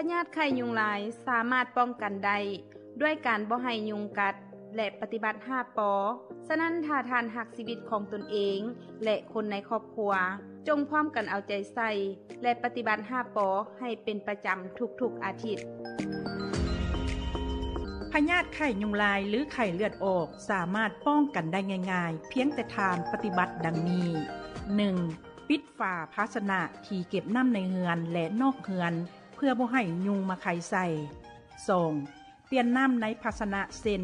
ພະຍາດໄຂ້ຍຸງລາຍສາມາດປ້ອງກັນໄດ້ດ້ວຍການບໍ່ໃຫ້ຍຸງກັດ ແລະ ປະຕິບັດຫ້າ ປ. ສະນັ້ນ ຖ້າທ່ານຮັກຊີວິດຂອງຕົນເອງ ແລະ ຄົນໃນຄອບຄົວ, ຈົ່ງພ້ອມກັນເອົາໃຈໃສ່ ແລະ ປະຕິບັດຫ້າ ປ ໃຫ້ເປັນປະຈຳທຸກໆອາທິດ. ພະຍາດໄຂ້ຍຸງລາຍ ຫຼື ໄຂ້ເລືອດອອກ ສາມາດປ້ອງກັນໄດ້ງ່າຍໆ ພຽງແຕ່ທ່ານປະຕິບັດດັ່ງນີ້: ໜຶ່ງ ປິດຝາພາຊະນະທີ່ເກັບນ້ຳໃນເຮືອນ ແລະ ນອກເຮືອນ ເພື່ອບໍ່ໃຫ້ຍຸງມາໄຂ່ໃສ່. ສອງ ປ່ຽນນ້ຳໃນພາຊະນະ ເຊັ່ນ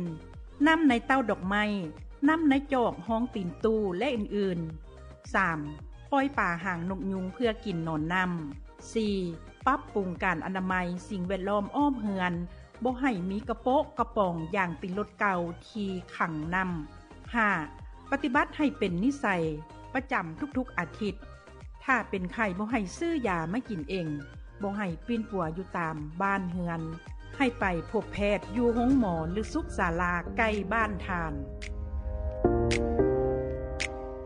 ນ້ຳໃນເຕົ້າດອກໄມ້, ນ້ຳໃນຈອກຮອງຕີນຕູ້ ແລະ ອື່ນໆ. ສາມ ປ່ອຍປາຫາງນົກຍຸງເພື່ອກິນນອນນ້ຳ. ສີ່ ປັບປຸງການອະນາໄມສິ່ງແວດລ້ອມອ້ອມເຮືອນ, ບໍ່ໃຫ້ມີກະໂປະກະປ໋ອງຢາງຕີນລົດເກົ່າທີ່ຂັງນ້ຳ. ຫ້າ ປະຕິບັດໃຫ້ເປັນນິໄສປະຈຳທຸກໆອາທິດ. ຖ້າເປັນໄຂ້ ບໍ່ໃຫ້ຊື້ຢາມາກິນເອງ, ບໍ່ໃຫ້ປິ່ນປົວຢູ່ຕາມບ້ານເຮືອນ, ໃຫ້ໄປພົບແພດຢູ່ໂຮງໝໍ ຫຼື ສຸກສາລາໃກ້ບ້ານທ່ານ.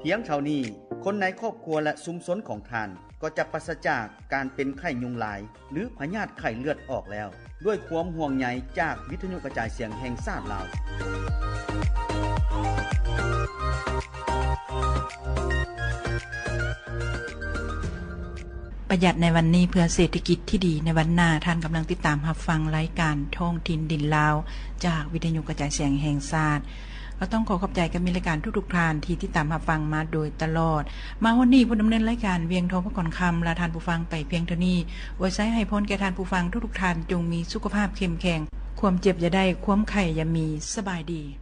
ພຽງເທົ່ານີ້, ຄົນໃນຄອບຄົວ ແລະ ຊຸມຊົນຂອງທ່ານ ກໍຈະປາສະຈາກການເປັນໄຂ້ຍຸງລາຍ ຫຼື ພະຍາດໄຂ້ເລືອດອອກແລ້ວ, ດ້ວຍຄວາມຫ່ວງໃຍຈາກວິທະຍຸກະຈາຍສຽງແຫ່ງຊາດລາວ. ປະຢັດໃນວັນນີ້ ເພື່ອເສດຖະກິດທີ່ດີໃນວັນໜ້າ. ທ່ານກຳລັງຕິດຕາມຮັບຟັງລາຍການທ້ອງຖິ່ນດິນລາວ ຈາກວິທະຍຸກະຈາຍສຽງແຫ່ງຊາດ. ກໍຕ້ອງຂໍຂອບໃຈກັບມິດລາຍການທຸກໆທ່ານທີ່ຕິດຕາມຮັບຟັງມາໂດຍຕະຫຼອດ. ມາຮອດນີ້ ຜູ້ດຳເນີນລາຍການ ວຽງທອງ ພະກອນຄຳ ລາທ່ານຜູ້ຟັງໄປພຽງເທົ່ານີ້. ອວຍໄຊໃຫ້ພອນແກ່ທ່ານຜູ້ຟັງທຸກໆທ່ານ ຈົ່ງມີສຸຂະພາບເຂັ້ມແຂງ, ຄວາມເຈັບຢ່າໄດ້, ຄວາມໄຂ້ຢ່າມີ. ສະບາຍດີ.